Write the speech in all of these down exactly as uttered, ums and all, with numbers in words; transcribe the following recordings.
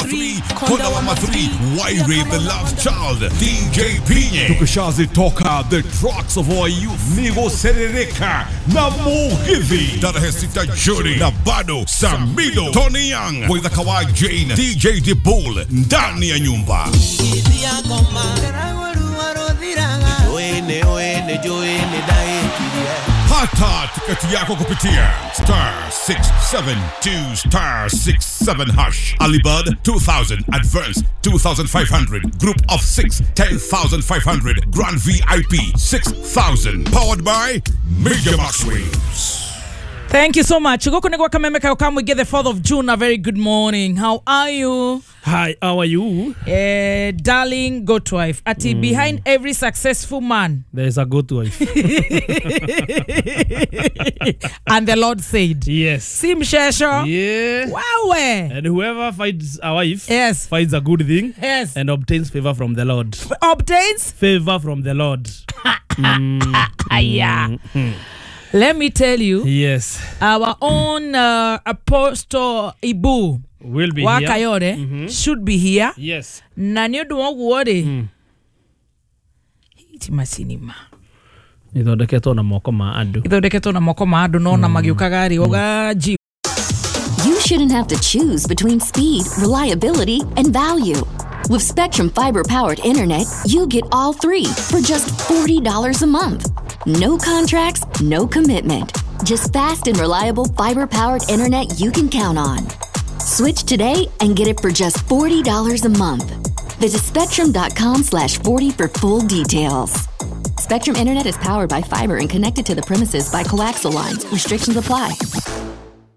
Three, Konda Wama three, Waire the Love Child, D J Pinye, Tukashazi Toka, The Trucks of Our Youth, Nigo Serereka, na Mugithi, Tarehe sita Juni, na bado Samido, Tony Young, Waitha Kawai Jane, D J Dibul, ndani ya nyumba. Pata tiketi yako kupitia star six seven two star six seven hash. Alibud two thousand, advance two thousand five hundred, group of six, ten thousand five hundred, Grand V I P six thousand. Powered by Major Max Waves. Thank you so much. Goko negwa kameme kayo kamu get the fourth of June. A very good morning. How are you? Hi, how are you? Eh, darling, goat wife. Ati mm. behind every successful man there is a goat wife. And the Lord said, yes. Si mshesho. Yeah. Wawe. And whoever finds a wife, yes, finds a good thing, yes, and obtains favor from the Lord. F obtains favor from the Lord. mm. Yeah. Mm. Let me tell you, yes, our own uh, Apostle Ibu will be wa here. Kayore mm-hmm. should be here. Yes. Na ni undu wa uguo ri mm. Iti macinima ithondeketwo na moko ma andu, ithondeketwo na moko ma andu no na magiukaga ri uga ji. You shouldn't have to choose between speed, reliability, and value. With Spectrum fiber-powered internet, you get all three for just forty dollars a month. No contracts, no commitment. Just fast and reliable fiber-powered internet you can count on. Switch today and get it for just forty dollars a month. Visit spectrum dot com slash forty for full details. Spectrum Internet is powered by fiber and connected to the premises by coaxial lines. Restrictions apply.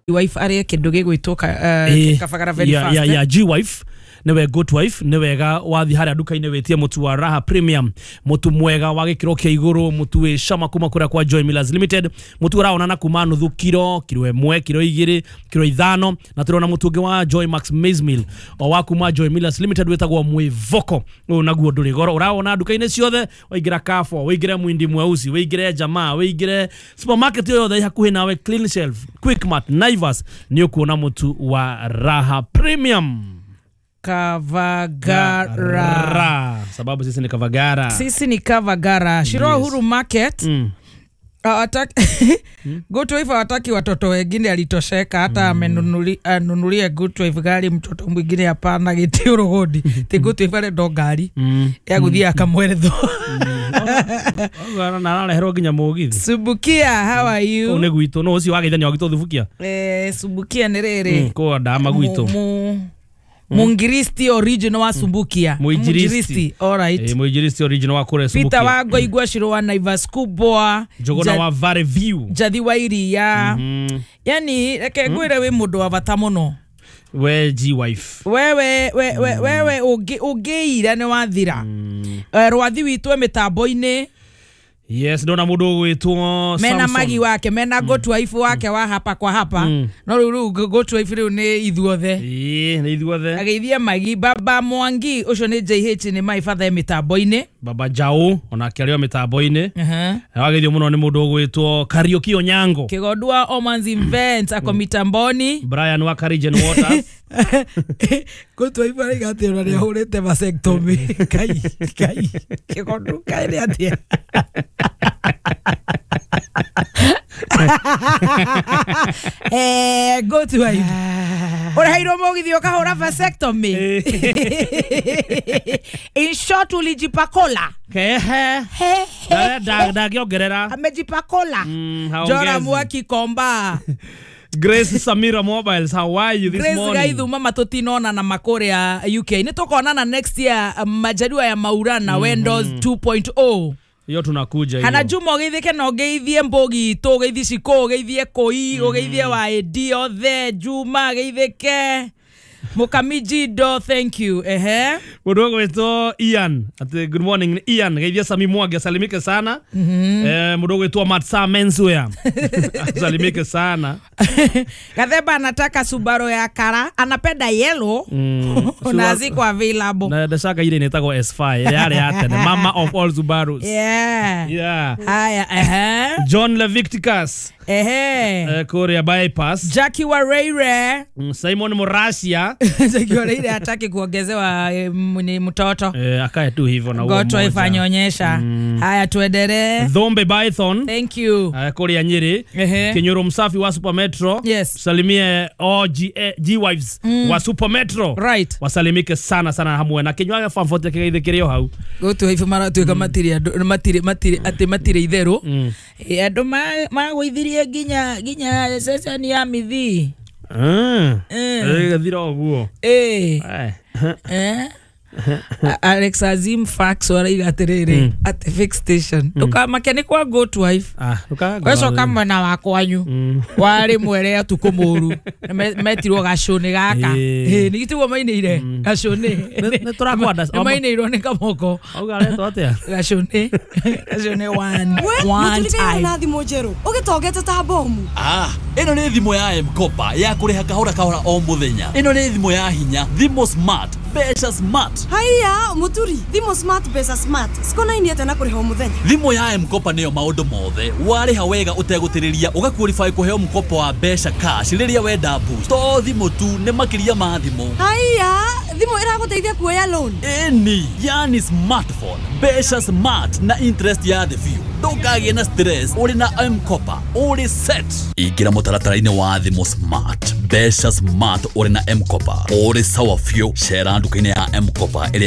Wife aria kindu gigwitwo Kavagara very yeah, fast. Yeah, yeah, G wife. Niwe good wife, ni wega wathi haria nduka-inĩ wĩtie mũtu wa Raha Premium, mũtu mwega wa gĩkĩro kĩa igũrũ, mũtu wĩ cama kuma kũrĩa kwa Joy Millers Limited, mũtu ũraonana kuma nuthu kiro, kiro ĩmwe, kiro igĩrĩ, kiro ithano, na tũrona mũtu ũngĩ wa Joy Max Maize Meal o wa kuma Joy Millers Limited wĩtagwo Mwĩvoko. Ũyũ naguo ndũrĩ goro, ũrawona nduka-inĩ ciothe, waingĩra Carrefour, waingĩre Mwindi Mweusi, waingĩre Jamaa, waingĩre supermarket yothe ĩ hakuhĩ nawe, Clean Shelf, Quickmart, Naivas, nĩ ũkuona mũtu wa Raha Premium. Kavagara. Ra. Sababu sisi ni Kavagara. Sisi ni Kavagara. Shiro Yes. Uhuru Market. Mm. Hawataki Good wife hawataki watoto wengine, alitosheka hata amenunuli anunulie good wife gari, mtoto mwingine hapana giti urugodi. Ti good wife arenda ngari Mm. ya guthia akamweretho. Mm. Na arareherwo nginya mugithi. Subukia, how are Kuu you? nĩ gwitũ, no ũcio wageithania wagitwo Thubukia. Eh, Subukia nĩ rĩrĩ. Mm, kũu ndama gwitũ. Mu- Mungiristi original wa Sumbukia. Muinjilisti. All right. Eh, Muinjilisti original wa kũrĩa Peter Subukia. Wango igwa Shiro wa Naivas Kubwa. Njogona Ja- wa Valley View. Jathi wa Iria. Mm. Yani reke ngwire wi mundu wa bata muno. We G wife. Wewe we, we, wewe ungi ungiira ni wathira. Mm. Eh, rwathi witũ mitambo-inĩ Yes, ndona mũndũ ũgwĩtwo mena Samson. magi wake mena go to wife wake wa hapa kwa hapa Mm. no rĩu rĩu go to wife rĩu nĩ ithuothe Ĩĩ, nĩ ithuothe. ageithia magi baba Mwangi ũcio nĩ J H nĩ my father mitambo-inĩ. Baba Jao onake arĩ o mĩtambo-inĩ. Uh-huh. Wageithio mũno nĩ mũndũ ũgwĩtwo Kariuki Onyango. Kigondu wa Omans Events ako mitamboni. Brian wa Karigen Waters. Go to wife araiga atĩ ona nĩahũrĩte vasectomy. Kai kai Kigondu kai nĩ atĩa? Eh, go to wife. Ũreheirwo mũgithi ũkahũra vasectomy. In short, ulijipakola. Kehe. He, he, Ndangĩongerera. Amejipakola. Mm, Jora haongezi. Mwaki Komba. Grace Samira Mobiles, how are you this Grace morning? Gaithuma matutinona na makuria U K. Nĩ tũkonana next year majaliwa ya Maulana mm -hmm. Windows two point oh. Hiyo tunakuja hiyo. Hana Juma ũgeithĩke na ũgeithie Mbũgi itũ, ũgeithie Shiko, ũgeithie Koi, ũgeithie wa A D othe, Juma geithĩke. Mukamiji do, thank you. Ehe. Mũndũ ũgwĩtwo Ian. Ati good morning Ian. Geithia Sami Mwangi asalimike sana. Mm -hmm. Eh, mũndũ ũgwĩtwo Matsa Menswear. Asalimike sana. Gathemba anataka Subaru ya kara, anapenda yellow. Mm. Na ziko available. Na ndashaka ile inaitagwo S five. Yale ya tene. Mama of all Subarus. Yeah. Yeah. Haya, ehe. John Leviticus. Ehe. Eh, Korea bypass. Jackie Wareire. Mm, Simon Murasia. Njagi Oreire hataki kuongezewa eh, m- ni mtoto. Eh, akae tu hivyo na huo Goto mmoja. ifanyonyesha. Haya tuendelee. Thombe Python Thank you. eh, kuria Nyeri. Ehe. Kinyoro msafi wa Super Metro. Yes. Salimie O G G wives wa Super Metro. Right. Wasalimike sana sana hamwe na kinywaga famfote kigeithĩkĩrio hau. Goto ife maratuĩka matirĩ andũ matirĩ matirĩ atĩ matirĩ itherũ. Eh, andũ ma- magũithirie nginya nginya ceceni ya mithii. Mm. Eh. Ĩgathira ũguo. Eh. Eh. Eh? A- Alex Azim Fax araiga atĩrĩrĩ atĩ fix station ndũkamake nĩ kwa good wife Ah, ndũkaga wecoka mwena wa kwanyu warĩ mwere ũtukũ mũru Na me- metirwo gacũnĩ gaka Ĩĩ. Ĩĩ, nĩ tiguo mainĩire gacũnĩ Nĩ- nĩ tũrakwanda- Nĩ mainĩirwo nĩ kamoko Auga aretwo atĩa? gacũnĩ gacũnĩ one We one mũturi time na thimũ njerũ ũgĩtongete ta bomu. Ah, ĩno nĩ thimũ ya M-Kopa ya kũrĩha kahora kahora o mũthenya. Ĩno nĩ thimũ ya hinya, thimũ smart, mbeca smart. Haiya mũturi, thimũ smart mbeca smart cikonainie atĩa na kũrĩha o mũthenya? Thimũ ya M-Kopa nĩyo maũndũ mothe. Warĩha wega ũtegũtĩrĩria ũgaqualify kũheo mkopo wa mbeca cash rĩrĩa wenda boost. To thimũ tu, nĩ makĩria ma thimũ. Haiya, thimũ ĩragũteithia kuoya loan. Ĩni, yani smartphone, mbeca smart na interest ya thĩ biũ. Ndũkagĩe na stress ũrĩ na M-Kopa, ũrĩ set. Ingĩra mũtaratara-inĩ wa thimũ smart, mbeca smart ũrĩ na M-Kopa, ũrĩ sawa biũ. Cera nduka-inĩ ya M-Kopa ĩrĩa